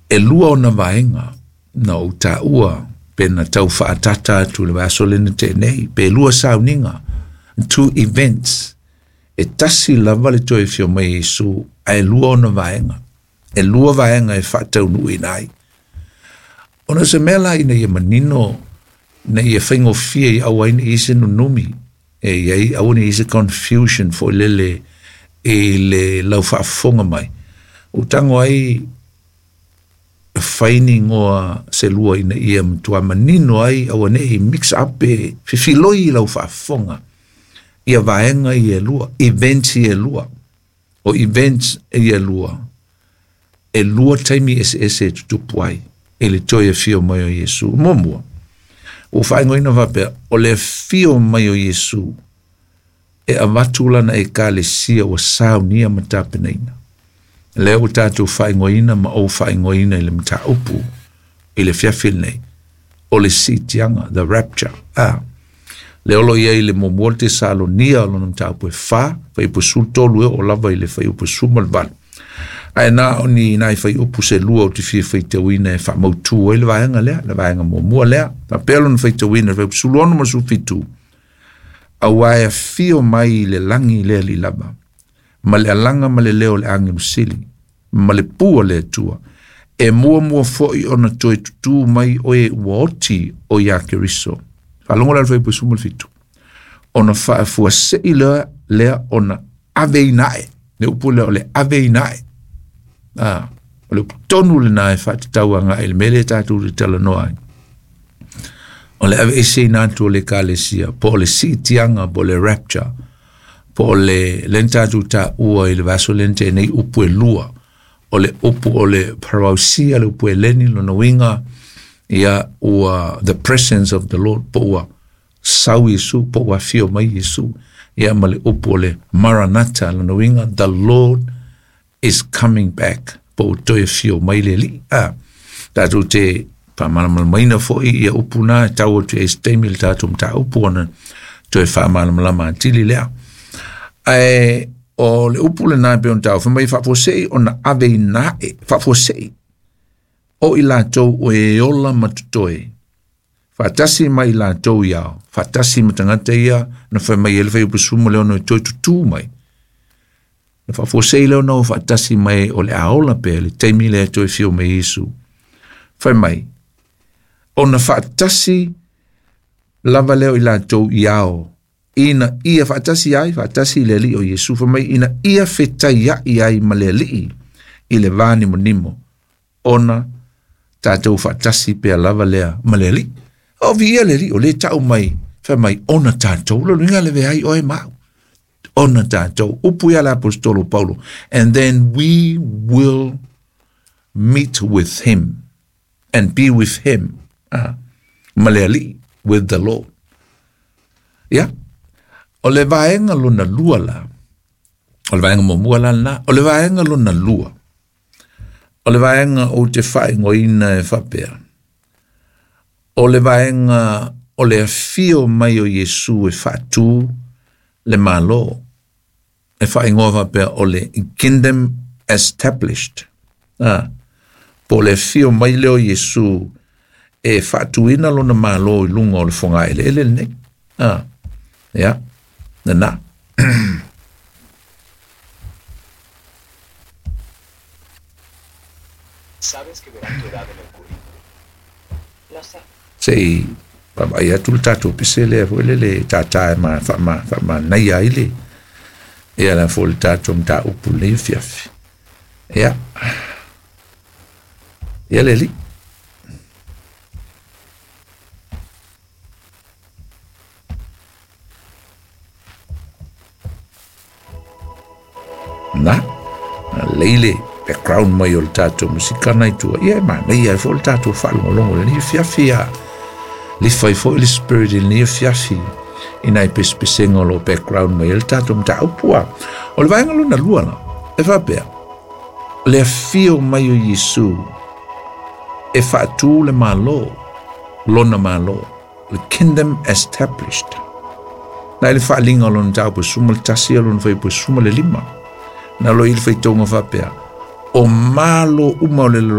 E lua ona vaega na ou taua pe na tau faaatata atu i le vaiaso lea na tea nei, pe lua sauniga, two events. E tasi lava le toe afio mai o Iesu, ae lua ona vaega. E lua vaega e faataunuuina ai. Ona o se mea la ina ia manino, ina ia faigofie i aua ai ne i i ai se nunumi, e i ai, aua ne i i ai se confusion foi lele i le lau faafofoga mai, ua tago ai e fai ni igoa se lua ina ia matua manino ai, aua ne i mix up pe fefiloi i lau faafofoga ia vaega ia e lua, events ia e lua. O events ia e lua, e lua taimi eseese e tutupu ai i le toe afio mai o Iesu. Muamua, ua faaigoaina faapea, o le afio mai o Iesu e avatu lana ekalesia ua saunia ma tapenaina. Lea ua tatou faaigoaina ma ou faaigoaina i le mataupu i le afiafi lenei, o le siitiaga, the rapture. A, lea o lo o i ai le muamua le Tesalonia o lona mataupu e 4, fuaiupu 13 e oo lava i le fuaiupu 18. Ae na o ni nai fuaiupu se lua ou te fia faitauina e faamautu ai le vaega lea, le vaega muamua lea. Faapea lona faitauina i le fuaiupu 16 ma le 17, aua e afio mai i le lagi le Alii lava, ma le alaga ma le leo o le agelu sili, ma le pū a le Atua, e muamua foi ona toe tutū mai oe ua oti o iā Keriso. Faalogo la i le fuaiupu 17, ona faafuasei lea, lea ona aveina ae. Le upu lea o le aveina ae. Ah, o le upu tonu lena e faatatau agai i le mea lea tatou te talanoa ai. O le aveeseina atu o le ekalesia, po o le siitiaga, po o le rapture, po o le lea na tatou taua i le vaiaso lea na tea nei upu e lua, o le upu o le parousia, le upu Eleni, lona uiga, ia ua the presence of the Lord, po ua sau Iesu, po ua afio mai Iesu, ia ma le upu o le Maranatha, lona uiga, the Lord is coming back, po ua toe afio mai le Alii. A, tatou te faamalamalamaina foi ia upu na e tau atu i ai se taimi le tatou mataupu ona toe faamalamalama atili lea. Ae o le upu lena e pei ona taua, fai mai faafuasei ona aveina ae, faafuasei o i latou o e ola ma totoe, faatasi ma i latou i ao, faatasi ma tagata ia na fai mai ai le fuaiupu 16 e toe tutū mai. Na faafuasei lea ona o faatasi mai o le a ola pea le taimi lea e toe afio mai Iesu. Fai mai, ona faatasi lava lea o i latou i ao, ina ia faatasi ai, faatasi i le Alii o Iesu, fai mai, ina ia fetaiai ai ma le Alii i le va nimonimo, ona tatou faatasi pea lava lea ma le Alii. O viia le Alii, o lea e tau mai, fai mai, ona tatou, lona uiga le veai oe ma au. Ona tatou, upu ia le aposetolo Paulo, and then we will meet with him and be with him, ah, ma le Alii, with the Lord. Ia, o le vaega lona lua la, o le vaega muamua la lena, o le vaega lona lua, o le vaega ou te faaigoaina e faapea, o le vaega o le afio mai o Iesu e faatū le Malo, e faaigoa faapea o le Kingdom Established. Ah, po o le afio mai lea o Iesu e faatuina lona Malo i luga o le fogaeleele lenei. Ah, ia, lena. Sabes que verán tu edad en el currículum. Lo sé. Se i vaavaai atu le tatou pese lea foi lele e tātā e ma, faama, faamanaia ai le, ia la foi le tatou mataupu i lenei afiafi. Ia, ia le alii. Na, lei le background mai o le tatou musika na i tua. Ia e manaia ai foi le tatou faalogologo i lenei afiafi a lifa ai foi le spirit i lenei afiafi i nai pesepesega o lo o background mai ai le tatou mataupu a. O le vaega lona lua la, e faapea, le afio mai o Iesu e faatū le Malo, lona Malo, the kingdom established. Na i le faaliga o lona mataupu 11 o lona fuaiupu 15, na lo i le faitauga faapea, o malo uma o le lalolagi,